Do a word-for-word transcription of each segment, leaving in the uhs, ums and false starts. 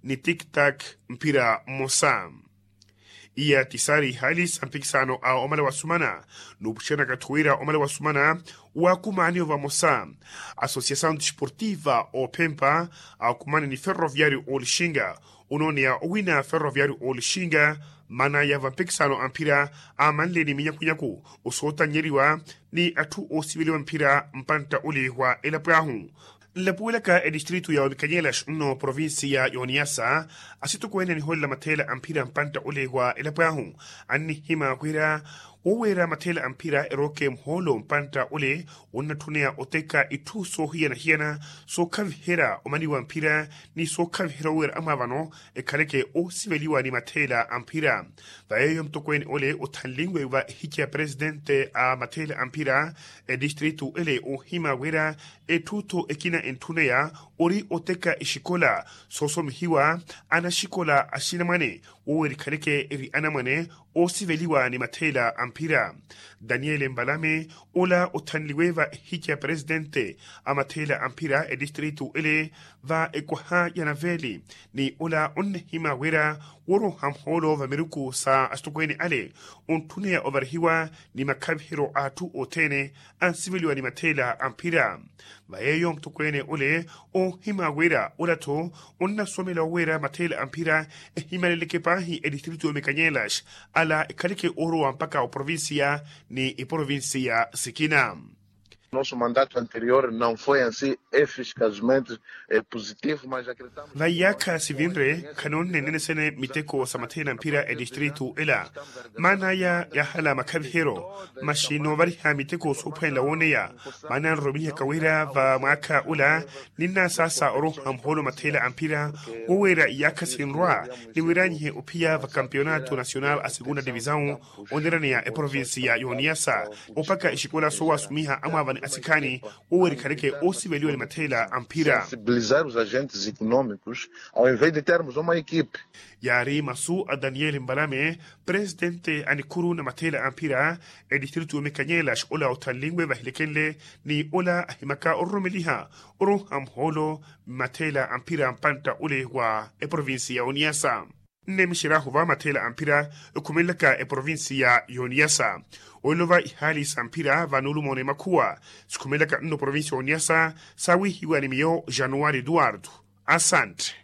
ni tiktak mphira mmosa. Iya ti saari ihaali sa mpikisano a omala wa sumana. Nuupuxerya nakathi wira omala wa sumana waakumaaniwe vamosa. Asosiasaw desportiva oophempa aakumaani ni ferroviario olixinga. Onooneya owina ferroviario olixinga maana ya vampikisano a mphira aamanle ni minyakunyaku osootannyeriwa ni atthu oosiveliwa mphira mpantta ole wa elapo ahu. Nlapuwelaka etistritu ya omikanyelax nno provincia ya oniyasa asitokweene aniholela matheela a mphira mpantta ole wa elapo ahu annihima wira woweera matheela a mphira erooke muhoolo mpantta ole onnatthuneya oteka itthu soohiyana-hiyana sookhaviherya omaniwa mphira ni sookhaviherya oweera amwaavano ekhaleke oosiveliwa ni matheela a mphira. Va yeeyo mutokweene ole othanlinwe va ehikya ya presitente a matheela a mphira etistritu ele oohima wira etthu-tho ekina entthuneya ori oteka exikola soosomihiwa anaxikola axinamwane wowerikhaneke eri anamwane oosiveliwa ni matheela a mphira. Daniele mbalame ola othanliwe va ehikya ya presitente a matheela a mphira etistritu ele va ekwaha ya naveli ni ola onnihima wira woroha muhoolo va miruku sa asitokweene ale ontthuneya ovarihiwa ni makhaviheryo a atthu othene ansiveliwa ni matheela a mphira. Va yeeyo mutokweene ole oohima wira ola-tho onnasomela oweera matheela a mphira ehimaleleke paahi etistritu ya omikanyelax ala ekhaleke oorowa mpakha oprovincia ni iprovincia sikina. Nosso mandato anterior não foi ansi eficazmente positivo mas acreditamos. Va iyaakha sivinre khanoonne nnenesene miteko sa matheela a mphira etistritu ela maana aya yaahala makhaviheryo. Maxi noovariha miteko soophwanela wooneya maana nroromihaka wira va mwaakha ula ninnasaasa oroha muhoolo matheela a mphira woweera iyaakha sinrwa ni wiranyihe ophiya va kampeonato nacional a segunda divisaw oneraneya eprovincia ya oniyasa opaka exikola soowasumiha amwaavani asikhaani wowerikhaneke oosiveliwa ni matheela a mphira. Sensibilizar os agentes economicos ao invés de termos uma equipe. Yaari masu a daniel mbalame presitente a nikhuru na matheela a mphira etistritu ya omikanyelax ola othanlinwe vahilekenle ni ola ahimaka ororomeliha oroha muhoolo mmatheela a mphira mpantta ole wa eprovincia ya oniyasa. Nnemixeryahu va matheela a mphira ekhumelelaka eprovincia ya oniyasa olova ihaali sa mphira va nuulumoona emakhuwa sikhumelelaka nno provincia ya oniyasa saawihiwa ni miyo januwari eduwardo. Asante.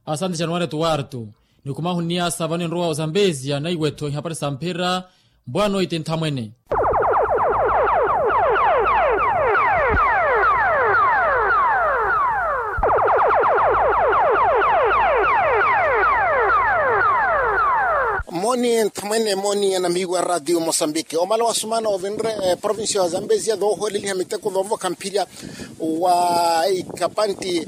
Asante januwari eduwardo. Nikhumahu nniyasa vano enrowa ozambesia naiwe-tho ihapari sa mphira. Mbwano iti nthamwene. Mooni nthamwene mooni anamiiwa radio mosambiki omala wasumana ovinre provincia wa zambezia dhoohooleliha miteko dhoovokha mphirya wa ikapanti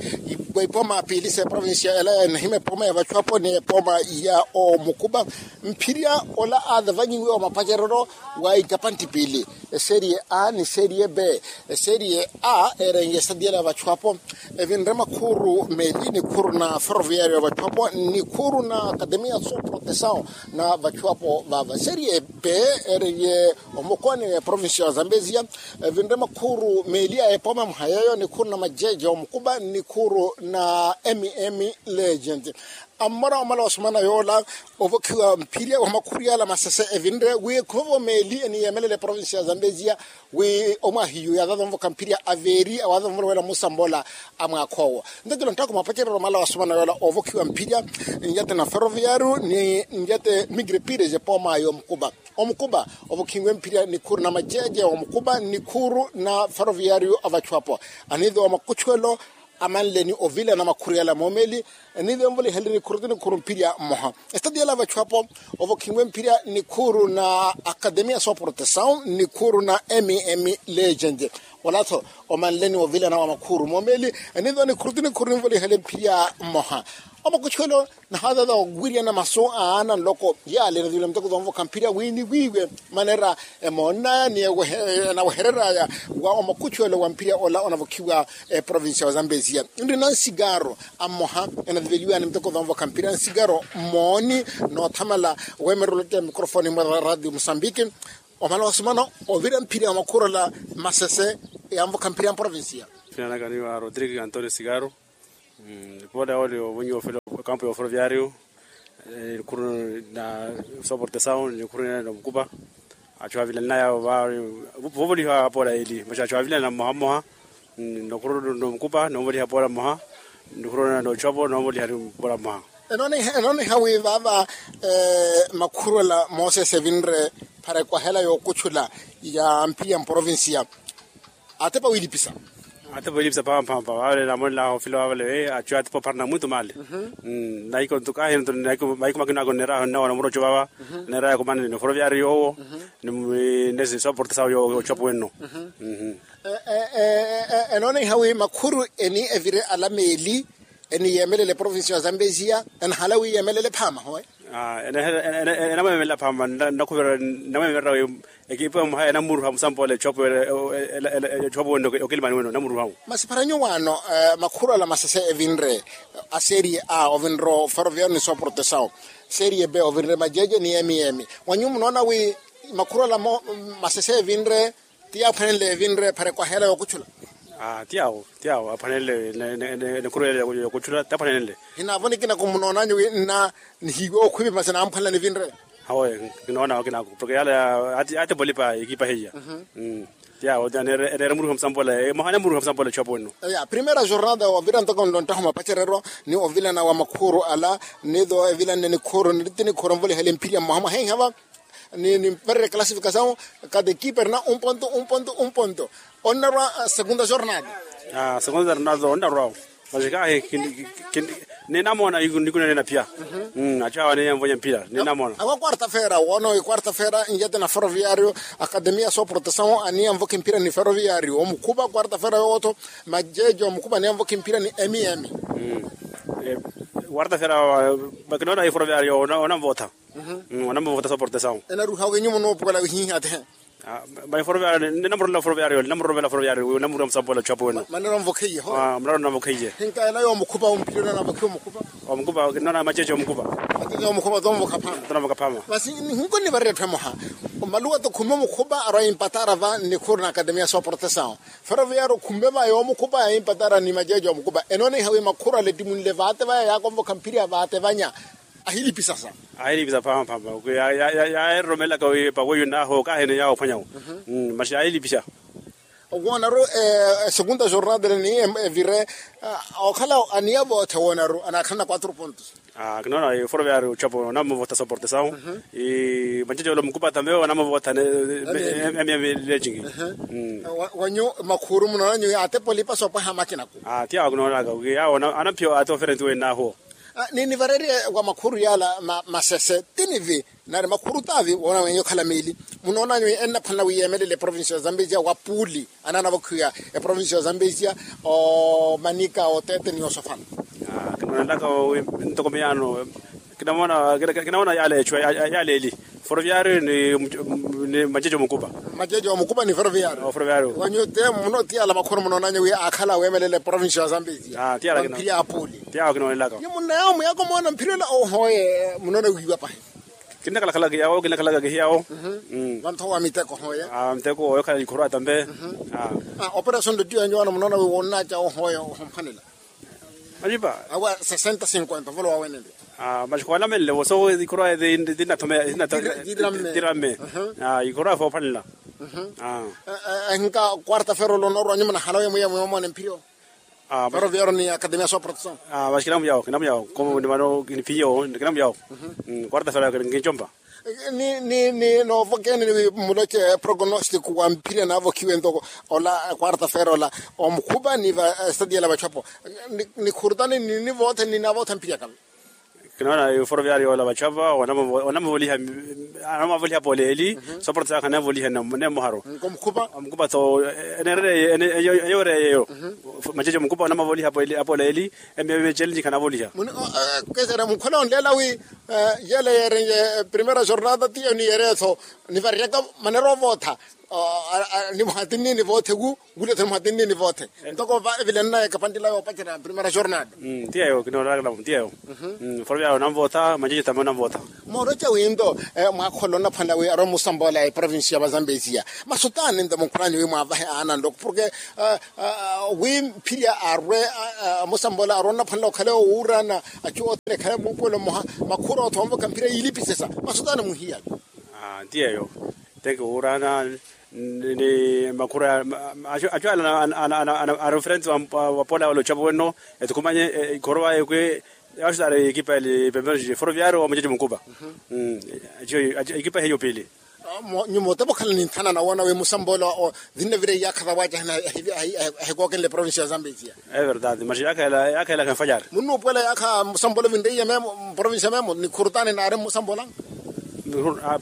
wa ipooma piili sa eprovincia ela enahima epooma ya vachuapo ni epooma ya omukuba. Mphirya ola aathavanyiwe wa mapacerero wa ikapanti piili eserie a ni serie b. Eserie a eerenye esadiela ya vachuapo evinre makhuru meeli nikhuru na ferroviario ya vachuapo nikhuru na akademia so protesaw na vachuapo vava serie b. Eerenye omokoni wa eprovincia wa zambezia evinre makhuru meeli a epooma muhayeyo nikhuru na majeje omukuba nikhuru na mm legend. Ammora omala osomana yoola ovokhiwa mphirya wa makhuru yaala masese evinre wi ekhumevo meeli eniyemelela eprovincia ya zambezia wi omwahiyu yaadhadhonvokha mphirya aveeri awaadhonvoloweela musambola a mwaakha owo. Ntatila ntthaku mapacerero omala wasomana yoola ovokhiwa mphirya njate na ferroviario ni njate migre pires epooma yomukuba. Omukuba ovokhiwe mphirya nikhuru na majeje omukuba nikhuru na ferroviario a vachuapo. Aniithi wa makuchuelo amanle ni ovilana makhuru yala moomeli. Eniithi envoliheleni khuru ti nikhuru mphirya mmoha. Estati yala vachuapo ovokhiwe mphirya nikhuru na akademia so protesaw nikhuru na mm legend. Olatho omanle ni ovilana wa makhuru moomeli. Eniithi onikhuru ti nikhuru ninvolihele mphirya mmoha. Omakuchuelo nahaatata owiryana masu a aana nloko yaale nathivile miteko thoonvokha mphirya wi niwiiwe manera emoonnaya ni enawehereraya wa omakuchuelo wa mphirya ola onavokhiwa eprovincia wa zambezia. Nri na nsigaro a mmoha enathiveliwani miteko thoonvokha mphirya nsigaro mooni noothamala weemerela ottela mikrofoni mwa radio mosambiki. Omala wasumana ovira mphirya wa makhuru ala masese yanvokha mphirya mprovincia. Finanakaniwa rodrigue antonio sigaro. Poole oli ovonyiwa ofela okampu ya oforoviariu. Nikhuru na soportesawu nikhuru na omukupa. Achu avilanaya vovoliha poola eli maxa achu avilana mmoha mmoha. Nikhuru nomukupa novoliha poola mmoha. Nikhuru na nochwapo novoliha poola mmoha. Enooniha wi vaava makhuru ala mosesi evinre para ekwahela yookuchula ya mpiri ya mprovincia. Atepa wilipisa. Atepa wilipisa phamphampa vale namonelaha ofila vavale achu atepa opharana mwitu male. Naiko ntukahi nto maiko makina ako neraha nnawa na murocho vava. Neraha yakumana ni foroviari yowo ni nesi soporta sawo yowo yochapu wenno. Enoona ihawi makhuru eni evire ala meeli eni yeemelele provincia ya zambezia enahala wi yeemelele phaama howe. Enamweemelela phaama. Nakhuvira namweemerera wi ekipa mwaha enamuruha musampola echopo echopo wene okilimani wene onamuruha. Masi para nyuwaano makhuru ala masese evinre a serie a ovinre oferoviaru ni soportesao serie b ovinre majeje ni emiemi wanyu munoona wi makhuru ala masese evinre ti yaaphwanenle evinre para ekwahela yookuchula. Ti yawo ti yawo aphwanenle. Nikhuru ele yookuchula ti aphwanenle. Hinaavo nikina kumunoonanyu wi nna nihiiwe okhwipi masi naamuphwanela nivinre. Hawe kinoona wakinako porke yala ya ati ati polipa ekipa heya. Ti yawo ti aneere muruha musampola mwaha aneere muruha musampola echopo enno. Ya primera jornada ovira ntoko nlonttaha mapacereryo ni ovilana wa makhuru ala. Nitho evilanne nikhuru niriti nikhuru nvolihale mphiri ya mwaha mwaha ehava. Ni niparire classificasawo kata ekipa erina un ponto un ponto un ponto. Onnarwa segunda jornada. Segunda jornada onnarwawo. Masi kahi ninamona nikuna nena pia. Achu awa niya mvonya mpira ninamona. Awa quarta fera wono quarta fera njete na ferroviario. Akademia soportasawo aniya mvoka mpira ni ferroviario omukhupa quarta fera yootho. Majeje omukhupa aniya mvoka mpira ni emiemi. Quarta fera. Bakinoona hi ferroviario onamvotha. Onamuvota soportasawo. Enaruha wenyu muno opukala wihihi atehe. Maiforova ninamurorela foroviario ninamurorela foroviario ninamurorela musampola chapo weno. Manero nvokheiye ho. Muraro navokheiye. Hinka ela yomukhupa ompirira navokhiwa omukhupa. Omukhupa nona macheche omukhupa. Macheche omukhupa tomvoka phama tomvoka phama. Masi hinko nivarire etthu emoha. Omaluwa tokhumbe omukhupa arwa impatara va nikhuru na akademia soportasawo. Foroviario khumbe va yomukhupa impatara ni macheche omukhupa enona ihawi makhuru alettimunle vate vaya yakomvokha mphiri ya vate vanya. Ahilipisa sa. Ahilipisa phamphampa. Yaeroromelaka wi paweyo naho kahene yawo phwanyawo. Masi ahilipisa. Woonaru esegunda jornada ni evire okhala aniya voothe woonaru anakhalana quatro pontos. Kinoona eforoviari ochapo onamuvota soportasawo. Macheche ole omukupa tambe onamuvota emiya milecingi. Wanyu makhuru munoonanyu atepa olipa soopwaha makinaku. Ti yawo kinoonaka wi yawo anaphiya ate oferenti wenaho. Ninivarerye wa makhuru yala masese tinivi nari makhuru taavi woona wenyu okhala miili. Munoonanyu ennaphwanela wi yeemelele eprovincia ya zambezia wa puuli anaanavokhiwa eprovincia ya zambezia omanika oteete ni osofala. Kinoonelaka wi ntoko miyaano. Kinamoona yala echu yala eli foroviario ni macheche omukupa. Macheche omukupa ni foroviario. Wanyu te muno ti yala makhuru munoonanyu wi akhala weemelela eprovincia ya zambezia. Ti yala kinoona. Mphiri ya apuli ti yawo kinoonelaka. Ni munnayawo muyako moona mphiri ola ohoye munoona wiiwa pahi. Kinakhalakhalaka yawo kinakhalaka kihiyawo. Vantho wa miteko hoye. Miteko oyo khala ikhuru atambe. Operasion do tiyo yanyu wana munoona wi wonnaca ohoye ohomphanela. Majipa awa sesenta sinkwenta volo wawenele. Masi khwalamenle voso ikhuru aye tinathome tiramme. Ikhuru aye foophanela. Hinka quarta fera olonorwa nyuma nahalawe mwiya mwiya omone mphiriyo. Ferroviario ni akademia soportasawo. Masi kinamuyawo kinamuyawo komo ni vano kinipiyewo kinamuyawo. Quarta fera kinchompa. Ni ni ni noovokeni muloche prognostiko wa mphiri anaavokhiwe ntoko ola quarta fera ola omukhupa ni va stadi yala vachapo. Nikhurutani ni ni voothe ni navootha mphiri akave. Kinoona eforoviario ola vachava onamavoliha. Onamavoliha apola eli soporta saakha anamavoliha nemoharo. Omukhupa tho enerere eyo eyo eyo. Macheche omukhupa onamavoliha apola eli emiya mechellenji khanavoliha. Kesera mukhole onleela wi Yele yerenye primera jornada tiyo ni yeretho nivariyaka manera ovootha. Nimuhatinni nivoothe wu wulitho nimuhatinni nivoothe. Ntoko va evilenna ekapantila yoopacera primera jornada. Tiyeyo kinooraka namu tiyeyo. Foro vyayo namvootha manjeci tame namvootha. Mooroca winto mwaakhola onnaphwanela wi arwa musamboola eprovinsi ya vazambezia masutani nto mukhurani wi mwaavahe aana nloko porke wi mphirya arwe amusamboola arwe onnaphwanela okhale owuurana achu othene ekhale muupuwelo mmoha. Makhuru othomvoka mphirya yiilipisesa masutani muhiyaka. Nti yeeyo teke wuurana ni makhuru achu ala ari ofrente wapola wala ochapo wenno ethukumanye ikhorowa ekwe. Axutari ekipa eli pempero foroviario wa muchache munkupa. Ekipa eheyo pili. Nyuma otepa okhala ni nthana nawoona wi musambolo vinne vira iyaakha vawaaca ahikookenle provincia ya zambezia. Everdade maxi yaakha ela yaakha ela khanfayari munnuupuwela yaakha musambolo vinre iye memo provincia memo ni khurutani naari musambolanga.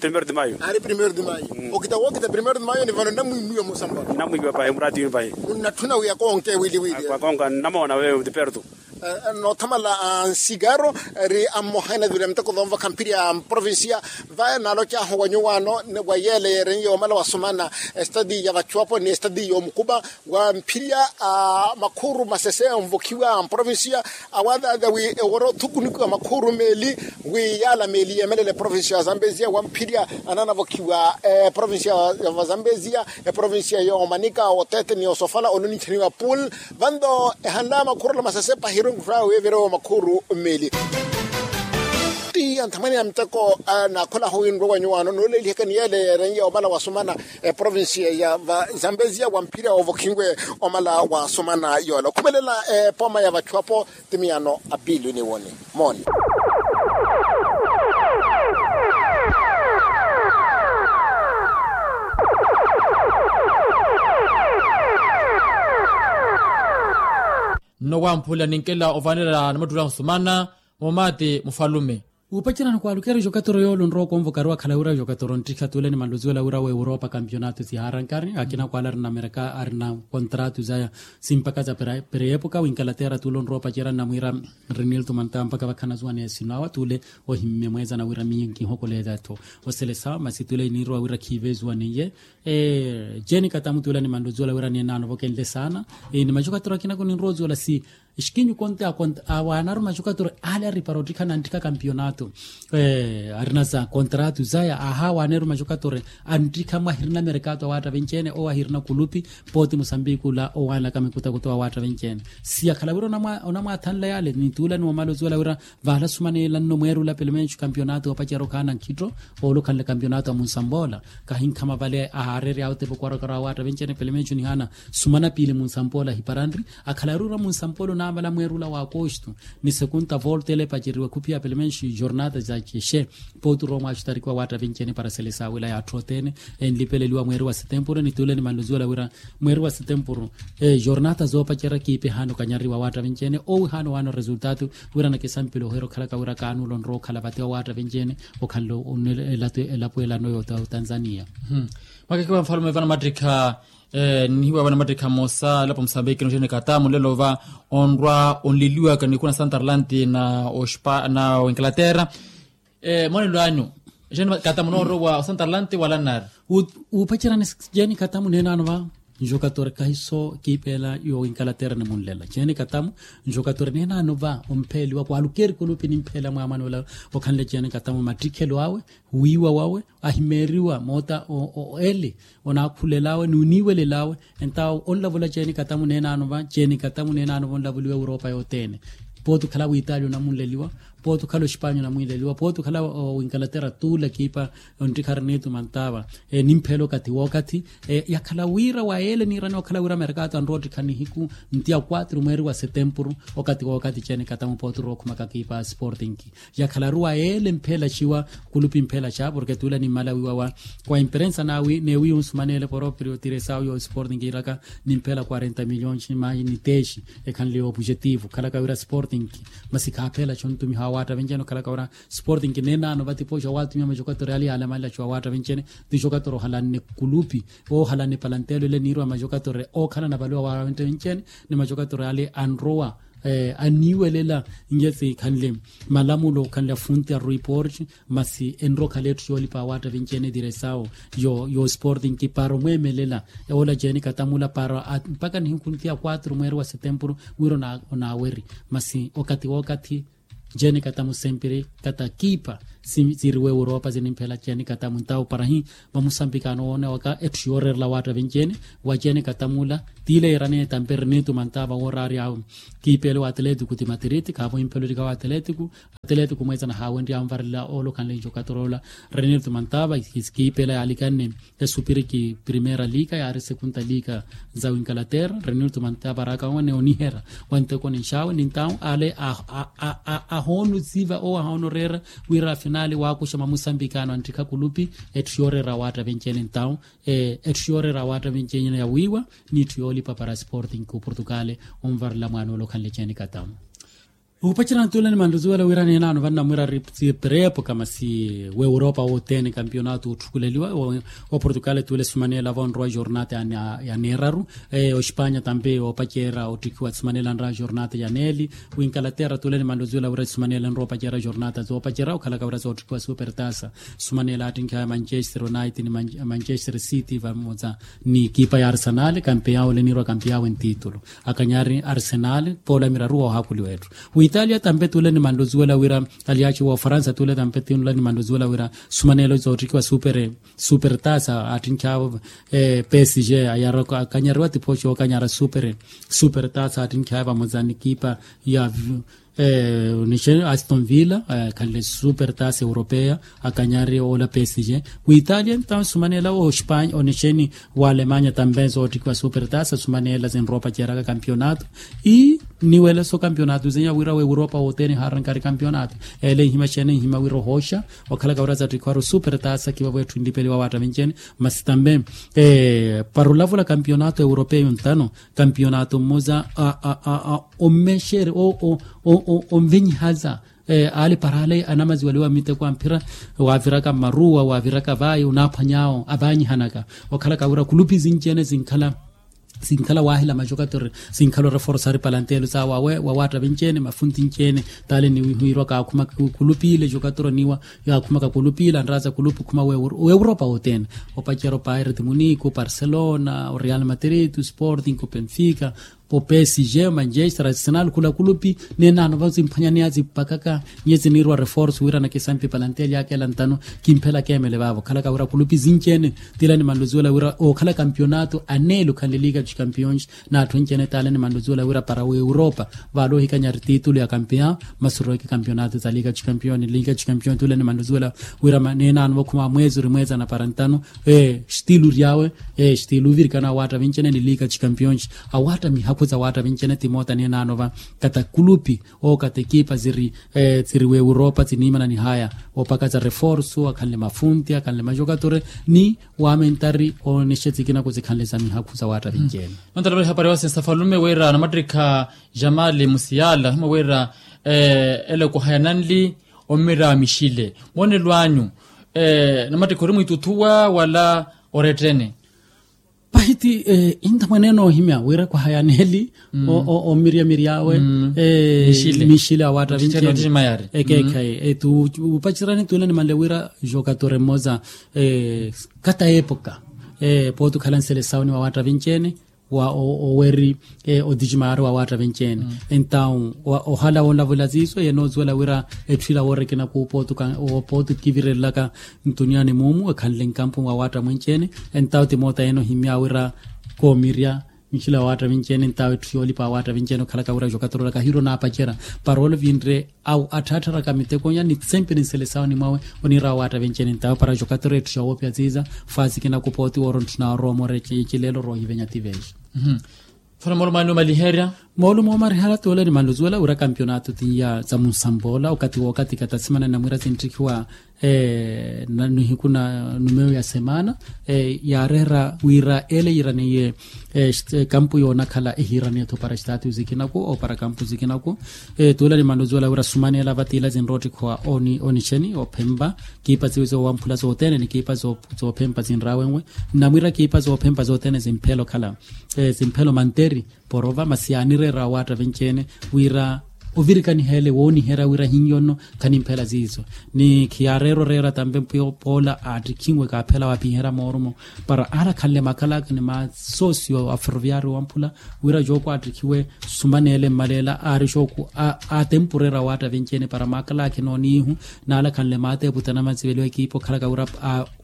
Primero de mayo. Ari primero de mayo okita wookita primero de mayo ni vano nnamwimwiwa musambola nnamwimwiwa pahi murati yumi pahi. Munnatthuna wi akonke wili wili akonka nnamoona wewe de perto. Noothamala a nsikaro ri ammoha enavira miteko voomvakha mphiri ya mprovincia. Vaya naalocahu wa nyuwaano wa yeele yeerenye yoomala wasumana estadi ya vachuapo ni estadi yoomukupa wa mphiri ya makhuru masese onvokhiwa mprovincia. Awaadhaadha wi eworo thukunikiwa makhuru meeli wi yaala meeli yeemelela eprovincia ya zambezia wa mphiri ya anaanavokhiwa eprovincia ya vazambezia eprovincia yoomanika oteete ni osofala oloninchaniwa pool. Vanto ehanla makhuru ala masese pahiru nkhuraya wi evirewo makhuru mmeeli. Ti anthamwene ya miteko naakholahu wi nrowa nyuwaano nooleliheka ni yeele yeerenye omala wasumana eprovincia ya vazambezia wa mphirya ovokhinwe omala wasumana yoola okhumelela epoma ya vachuapo. Ti miyano apili niwoni mooni. Nno wamphula ninkela ovaanela namattuula ahusumana. Moomaati mufalume. Wuupacerani kwaalukera ejokatoro yoole onrowa okonvoka ari wakhala wira ejokatoro nttikha tuule ni manluziwela wira wa europa kampionato siharankari akina kwaala ari na mereka ari na kontratu zaya simpaka za pereepuka winkalaterra tuule onrowa opacerani namwiira nrinilto mantawa mpaka vakhana zuwaneya esino awa tuule ohimme mweeza nawira miyo nkihokolela-tho. Oselesa masi tuule iniirowa wira khiive ezuwaneiye. Jeeni katamu tuula ni manluziwela wira neenaano vokenle saana ni majokatoro akina kuninrowa oziwela si exikinyu konte awaanaru majokatore ale aripara ottikha nanttikha kampionato. Arina za kontratu zaya ahawaneru majokatore anttikha mwahirina merekato awaatta venci-ene owo ahirina kulupi. Pooti musambiki ula owaanlaka mikutakuta wa waatta venci-ene si akhala wira onamwaathanla yale nituula ni wamala oziwela wira vaala sumaneelanno mweerula pelemencu kampionato opacerya okhaana nkhitto. Oolukhanle kampionato a munsampoola kahinkhama vale ahaarery'awe otepa okwarakara wa waatta venci-ene pelemencu nihaana sumana piili munsampoola ahiparanri. Akhalari ura munsampolo naamala mweerula wa akosto ni sekunta volta ele epaceriwa khuphiya pelemenxi jornata za cexe. Pooti ura omwaxutarikiwa waatta venci-ene para selesa wila yaatthi othene enlipeleliwa mweeri wa setempuru ni tuule ni manluziwela wira mweeri wa setempuru jornata zoopacerya kiipa ehaana okanyariwa waatta venci-ene owihaana owaana oresultatu. Wira nakisampile ohiira okhalaka wira kaanuula onrowa okhala vate wa waatta venci-ene okhanle elapo elano ya otanzania. Makakiwa nfalume vana mattikha nihiwa vana mattikha mmosa elapo musambiki noxeeni katamu nlelo va onrwa onleliwaka nikuna santarlanti na oinglaterra. Monelo anyu oxeeni katamu noorowa osantarlanti wala nari wuupacerani jeeni katamu neenaano va. Nxokatore kahiso kiipeela yo ingalaterra nimunlela jeeni katamu nxokatore neenaano va ompheeliwa kwaalukeri kulupi nimpheela mwaamani ola okhanle jeeni katamu mattikhelo awe wiiwa wawe ahimeeriwa moota ele onaakhulel'awe n'uniiwelel'awe. Entawo onlavula jeeni katamu neenaano va jeeni katamu neenaano va onlavuliwa europa yothene. Pooti okhala witaali onamunleliwa pooti okhala oxipanya onamunleliwa pooti okhala wingalaterra tuula kiipa onttikharinitu mantaava nimpheela okathi wookathi. Yakhala wira wa yeele niirani okhala wira merkato anrowa ottikha nihiku nti ya kwatru mweeri wa setempuru okathi wookathi jeeni katamu pooti orookhumaka kiipa sporting. Yakhalaru wa yeele mpheela xiwa kulupi mpheela xa porke tuula nimmala wiiwa wa imperensa n'awi neewiya onsumaneele poroprio tiresau yo sporting kiiraka nimpheela quarenta miliyoni mayi ni tesi ekhanle yo opujetivu khalaka wira sporting. Masi khaapheela xo ontumiha wa waatta venci-ene okhalaka wira sporting neenaano vatipoxa waatumiha maxokatore ale yaalamanela xo wa waatta venci-ene ti xokatore ohalanne kulupi oohalanne palanteelo ele niirwa maxokatore ookhalana vale wa waatta venci-ene ni maxokatore ale anrowa Anniiwelela nje sikhanle malamulo okhanle afunti a report. Masi enrokhale etthu yoolipa awaatta vinci ene diresawo yo sporting kipara omweemelela. Oola jeeni katamula para mpakha nihikhunti ya quatro mweeri wa setempuru wira onaaweri. Masi okathi wookathi jeeni katamu sempiri kata kiipa siriwe europa sinimphela jeeni katamu ntawo para hi vamusambikano woone waka etthu yooreerela awaatta vinci ene. Wa jeeni katamula tiile yiiraniye tampe rinitumanta vawoorari awe kiipele wa atletico ti matiriti khaavo imphelolika wa atletico. Atletico mweetsana haawenrya anvarela oolokhanle njokatoroola renitumanta va kiipela yaalikanne esupiriki primera liika yaari sekunta liika. Nzawi nkalaterra renitumanta varaka wane onihera wanteko ninxaawe nintawo ale ahoonusiva owo ahoonoreera wira afinali waakuxa mamusambikano anttikha kulupi. Etthu yooreera awaatta vinci ene ntawo etthu yooreera awaatta vinci ene yawiiwa n'itthu yoolipa para sporting ku portugal. Onvarela mwaana ole okhanle jeeni katamu. Upacerana tuule ni manruzuwela wira neenaano vannamwira ri sipereepo kamasi w'europa wothene kampionato otthukuleliwa wa portugal tuule sumaneela vonrowa jornata ya neeraru. Ospanya tampe oopacerya ottikhiwa sumaneela nra jornata ya neeli. Winkalaterra tuule ni manruzuwela wira sumaneela nra opacerya jornata zoopacera okhalaka wira zoottikhiwa supertasa. Sumaneela attinkhi aya manchester united ni manchester city vamoza ni ekipa ya arsenal kampeya ole niirwa kampeya awe ntitulu. Akanyari arsenal poola miraru woohakuliwa etthu. Witalia tampe tuule ni manluzuwela wira aliaci woofaransa tuule tampe tuule ni manluzuwela wira sumaneelo zoottikiwa super tasa attinkhi awo psg ayaraka akanyariwa tiphoxi ookanyara super tasa attinkhi awo vamoza ni ekipa ya nixeni aston villa. Khanle super tasa europeya akanyari oola psg. Witalia ntawo sumaneela ospanya onixeni wa alemanya tampe zoottikiwa super tasa sumaneela zinropa ceeraka kampionato. Ii niweleso kampionato zeya wira w'europa wothene haarankari kampionato. Ele nhima xene nhima wira ohooxa okhalaka wira zattikhiwaru super tasa kivavo etthu nlipeliwa awaatta vinci ene. Masi tampe para olavula kampionato europeyo ntano kampionato mmoza a a a a ommexere o o o o onvenyihaza. Ale para ale anamaziwaliwa miteko amphira waaviraka mmaruwa waaviraka vayi onaaphwany'awo avanyihanaka. Okhalaka wira kulupi zinci ene zinkhala zinkhala waahila majokatori zinkhala oreforsa ari palantelo sawo awe wawaatta vinci ene mafunti nci ene. Tale niwihiirwa kaakhuma kulupile jokatori niwa yaakhumaka kulupile anraza kulupi khuma w'europa wothene. Opacero paireti muniku parcelona oreal matrito sporting openfica opsg manchester arsenal khula kulupi. Neenano vasimphwanyaneya zimpakaka nyezi niirwa reforce wira nakisampi palanteli yakela ntano. Kimphela kemele vavo khalaka wira kulupi zinci ene tila ni manluzuwela wira okhala kampionato anelu khanle liga de campions. N'atthu enci ene tala ni manluzuwela wira para w'europa vale ohikanyari titulu ya campion. Masuroweke kampionato za liga de campion liga de campion tula ni manluzuwela wira neenano vakhuma mweezi ori mweezi anapara ntano. Ee stilu ryawe ee stilu ovirikana awaatta vinci ene ni liga de campions. Awaatta mihakhu za awaatta vinci ene timoota neenano va kata kulupi oo kata ekipa ziri ziri w'europa ziniimana nihaya opaka za reforso akhanle mafunti akhanle majokatori ni wamentari onexe zikinaku zikhanle za mihakhu za waatta vinci ene. Nontala vale hapari wasinsa falume wira anamattikha jamali musiyala ohimwa wira ele kuhaya nanli ommira mixile moonelo anyu namattikha ori mwiituthuwa wala orettene. Pahiti intamwaneene ohimya wira kuhaya neeli omiryamiryawe mixile awaatta vinci ene. Ekeekhayi etu upacerani tuule ni manle wira jokatori mmoza kata epoka pooti okhala nselesawo ni wawaatta vinci ene wa oweri otiximaari wawaatta vinci ene. Entawu ohala woolavula siiso yenozuwela wira etthu ila woorikina kuupooti okivirelelaka ntuniya ni muumu ekhanle nkampu wawaatta mwinci ene. Entawu timoota yene ohimya wira koomirya nxila wawaatta vinci ene entawu etthu yoolipa wawaatta vinci ene okhalaka wira jokatorora kahiiro naapacerya para ole vinre awo atthaatharaka mitekonya ni sempre nselesawo ni mwawe oniira wawaatta vinci ene entawo para jokatora etthu xa woopya ziiza. Faasi kinakupa oti wooro ntthuna orowa omoora ecileelo oroohivenya tiveexa. Fana moolumo anni omaliherya moolumo omaliherya toole ni manluzuwela wira kampionato tiya za munsamboola okathi wookathi kata simana namwiira sintthikiwa nihiku na numeyo ya semana yaareera wira ele yiiraniye kampu yoonakhala ehiiraniye-tho para status ikinaku opara kampu zikinaku. Tuula ni manluzuwela wira sumaneela vatiila zinroottikhiwa onixeni ophempa kiipa ziwe zoowamphula zothene ni kiipa zoophempa zinraawenwe. Nnamwiira kiipa zoophempa zothene zimphela okhala zimphela omanteri porova masi yaanire Era waatta venci-ene wira ovirikaniha ele wooniherya wira hinyo nno. Khanimphela ziizo ni khiyaareera oreera tampe poola aattikhinwe kaaphela waapiherya moorumo para aala khanle makalaakha ni masoosio a ferroviario wamphula wira jooku aattikhiwe sumana ele mmaleela aari jooku aatempurera waatta venci-ene para makalaakha enooniihu naala khanle maateeputa na matsiveliwa ekiipa okhalaka wira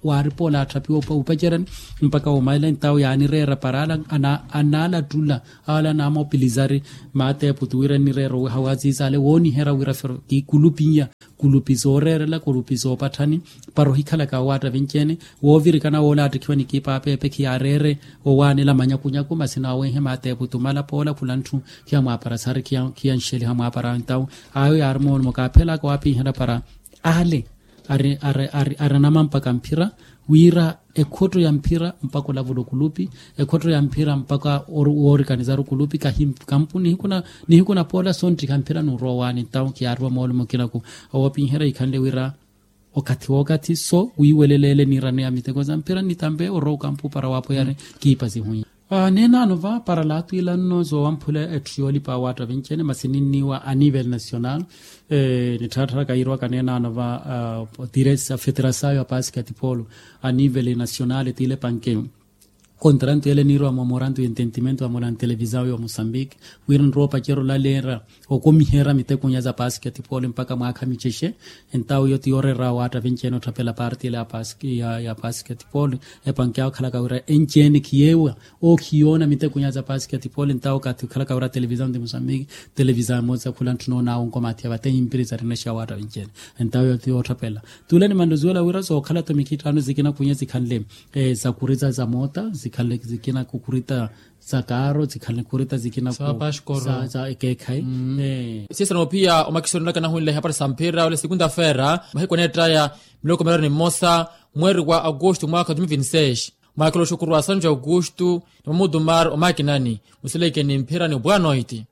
waari poola aatthaphiwa opacerani mpakha woomalela entawo yaanireera para aala anaalattula aala anaamopilizari maateeputi wira enireera oweha waaziizaale wooniherya wira fero kikulupinya kulupi zooreerela kulupi zoopatthani para ohikhalaka waatta venci-ene woovirikana woola aattikhiwa ni kiipa apeepe khiyaareere owaanela manyakunyaku masi naawenhe maateeputi omala poola khula ntthu khiyamwaapara saari khiyanxeliha mwaapara entawo ayo yaari moolumo kaaphelaka waapiherya para aale ari anamampaka mphira wira ekhotto ya mphira mpakha olavula okulupi ekhotto ya mphira mpakha woorikanizaru okulupi kahikampu nihiku na poola sonttikha mphira n'urowa owaani entawo khiyaariwa moolumo kinaku owoopinherya ikhanle wira okathi wookathi so wiiweleleele niirano ya miteko za mphira nitampe orowa okampu para waapoyari kiipa zihunya. Neenaano va para laatwiila nno zoowamphula etthu yoolipa waatta venci-ene masi ninniiwa a nivel national. Nittharatthara kayiirwaka neenaano va tiresa federasayo a pasiketipolo a nivel national tiile panke kontarantu ele niirwa momorantu ya ententimento ya mola ntelevisayo ya mosambiki wira nrowa opacerya olaleera okomiherya mitekunya za pasiketipolo mpakha mwaakha micexe. Entawo iyo ti yooreera waatta venci-ene otthapela parti ele ya pasiketipolo epanke awo okhalaka wira enci-ene khiyeewa ookhiyoona mitekunya za pasiketipolo entawo okathi okhalaka wira televisayo de mosambiki televisayo emosa khula ntthu noonaawo nkomathi ya vatehi mpiri za rinexeya waatta venci-ene. Entawo iyo ti yootthapela tuule ni manroziwela wira zookhala-tho mikhittano zikina khunya zikhanle za kurita za moota zikhanle zikina kukurita za kaaro zikhanle kurita zikina za ekeekhayi. Siisana ophiya omakisoni olaka nahunle ehapari sa mphira ole sikunta feera mahiku aneettaya miloko miraru ni mmosa mweeri wa aukustu mwaakha wa domivinseis mwaakela oxukurwa sanju aukustu ni mamutumar omakinani musileke ni mphira ni bwanoiti.